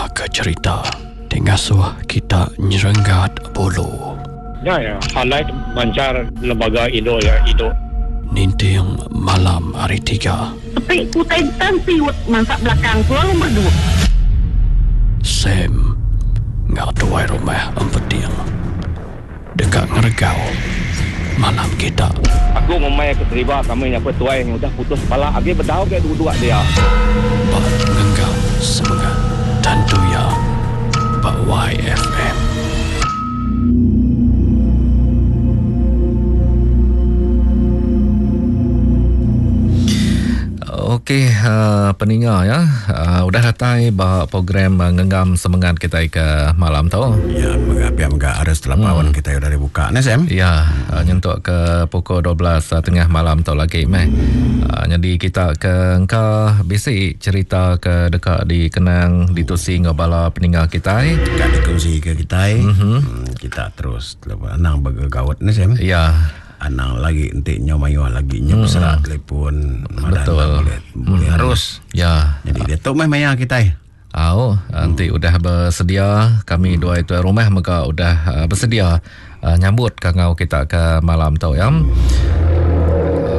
Ninga ke cherita ti ngasuh kita nyerenggat bulu. Nya iya highlight manchar lembaga indu iya indu. Ninting malam hari tiga. Sepi ku utai tan siut mansa belakang ku lalu merdu. Sam enggau tuai rumah Empeting deka ngeregau malam kita. Aku ngumbai ke deriba kami nya pun tuai nya udah putus pala agi bedau ga duduk dia. Ba ngenggam semengat tentu iya ba YFM. Okey, uh, peninga ya. Uh, udah datai ba program uh, ngenggam semengat kita ke malam tu. Ya, mega pia mega harus telah hmm. kita udah dibuka ni Sam. Ya, uh, nyentuk ke pukul 12 uh, tengah malam tu lagi meh. Uh, jadi kita ke engka bisi cerita ke deka dikenang ditusi enggau bala peninga kitai. Deka dikongsi ke kitai. Mm -hmm. Kita terus anang begegaut ni Sam. Ya. Anang lagi enti nyau mayuh lagi nyau mm. beserak telefon Betul. Boleh, boleh mm. harus. Ya. Jadi dia tu meh maya kitai. Au, enti hmm. udah bersedia kami dua itu rumah mega udah uh, bersedia uh, nyambut kangau kita ke malam tu ya.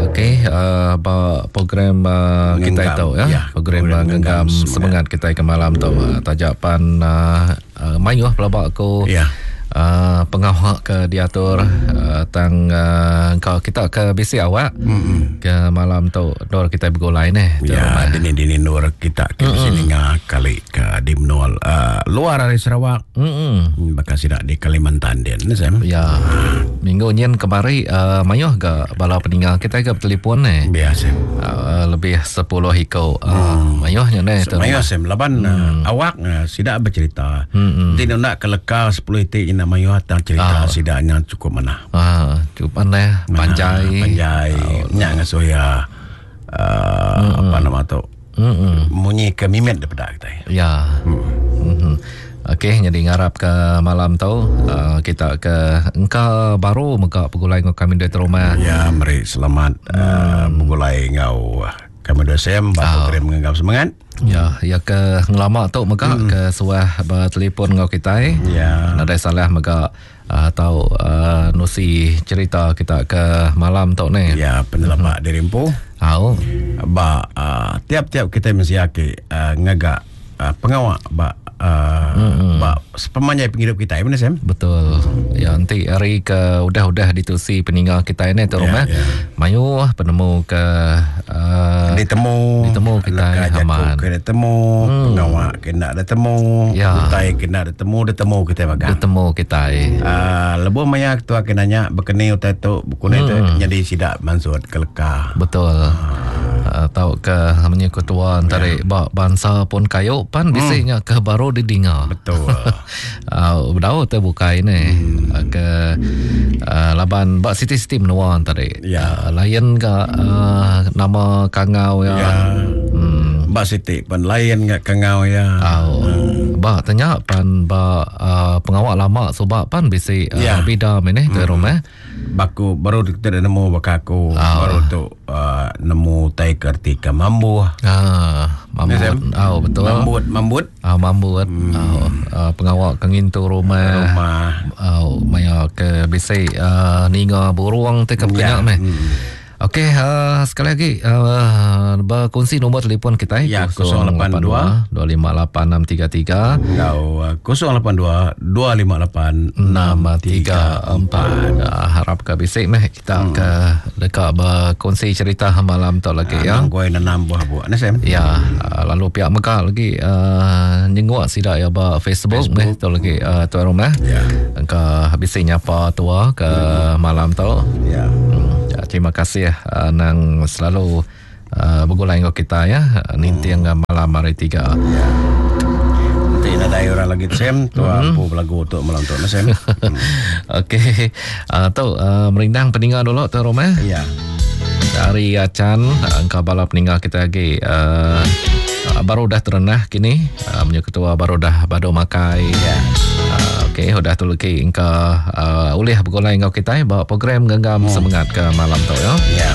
Okey, uh, ba program uh, kita itu ya, ya program, program genggam semangat kita ke malam tu. Uh, tajak pan uh, uh, mayuh pelaba aku. Ya. Uh, pengawa ke diatur uh, tang uh, kau kita ke bisi awak mm-hmm. ke malam tu dor kita begulai neh ya dini dini nur kita ke bisi mm-hmm. ninga kali ke di menua uh, luar ari Sarawak mm-hmm. bakal sida di Kalimantan din ne Sam ya uh. minggu nyin kemari uh, mayuh ga bala peninga kita ke telefon neh ya Sam uh, lebih 10 iko uh, mm. mayuh nya neh mayuh Sam laban mm. uh, awak uh, sida bercerita mm-hmm. Enti nunda ke leka 10 iti nya mayuh tang cerita oh. sida nya cukup manah. Ah, cukup manah, panjai. Panjai. Oh. Nya ngasuh ya uh, mm-hmm. apa nama tu? Mm-hmm. Munyi ke mimit daripada kita. Ya. Mm. Mm-hmm. Okey, jadi ngarap ke malam tu uh, kita ke engka baru mega begulai ngau kami di rumah. Ya, meri selamat uh, begulai ngau kami dua sem ba program ngenggam semangat. Ya, ya ke ngelama tu mega hmm. ke suah bertelefon enggau kitai. Ya. Nadai salah mega uh, tau uh, nusi cerita kita ke malam tu ni. Ya, penelaba hmm. diri empu. Au. Ba uh, tiap-tiap kita mesti aki uh, ngaga uh, pengawa ba uh, hmm. ba sepemanjai penghidup kita mana Sam? Betul. Ya nanti hari ke udah-udah ditusi peninggal kita ini tu ya, rumah. Ya. Mayuh penemu ke uh, ditemu ditemu kita aman. Ke ditemu hmm. pengawa ke nak ditemu ya. utai ke nak ditemu ditemu kita magang. Ditemu kita. Uh, lebuh maya ketua ke nanya bekeni utai tu bekuni hmm. tu jadi sidak mansut ke leka. Betul. Uh. Uh, tau ke menye ketua antara yeah. ba bansa pun kayu pan bisi nya ke baru didinga. Betul. uh, bedau te bukai ni hmm. uh, ke uh, laban ba siti-siti menua tadi. Ya. Uh, lain ke uh, nama kangau ya. ya. Hmm. Ba siti pan lain ga kangau ya. Oh. Hmm. Ba tanya pan ba uh, pengawak lama suba pan bisi uh, Ya. bida meh tu rumah. Baku baru kita dah nemu baka aku Ah. baru tu uh, nemu tai ke erti ke mambuh. Ah, mambut. Oh, betul. Mambut, mambut. Ah, mambut. Hmm. Oh, uh, pengawak ke ngintu rumah. Rumah. Oh, maya ke bisi uh, ninga burung te ke Ya. yeah. meh. Hmm. Okey, uh, sekali lagi uh, berkongsi nombor telefon kita Ya, 082 258633 Enggau uh, 082 258 634. Uh, harap ke bisik meh kita hmm. ke dekat berkongsi cerita malam tu lagi ya. Nang goi nanam buah buah ni Sam. Ya, uh, lalu pihak Mekah lagi uh, nyenguk sidak ya ba Facebook, Facebook. meh tu lagi uh, tuan rumah. Ya. Engka bisi nyapa tua ke malam tu. Ya. Hmm, ya, terima kasih uh, nang selalu uh, bergulai dengan kita ya ninting hmm. malam hari tiga. Ya. Nanti nadai orang lagi Sam, tu ampu belagu tu malam tu ni Sam. Hmm. Okey. Uh, tu uh, merindang peninggal dulu tu rumah. Ya. Dari Acan engkau bala peninggal kita lagi uh, baru dah terenah kini uh, punya ketua baru dah badu makai. Ya. Uh, Okey, udah tu lagi engkau uh, ulih bergulai engkau kita bawa program genggam semangat ke malam tu ya. Ya.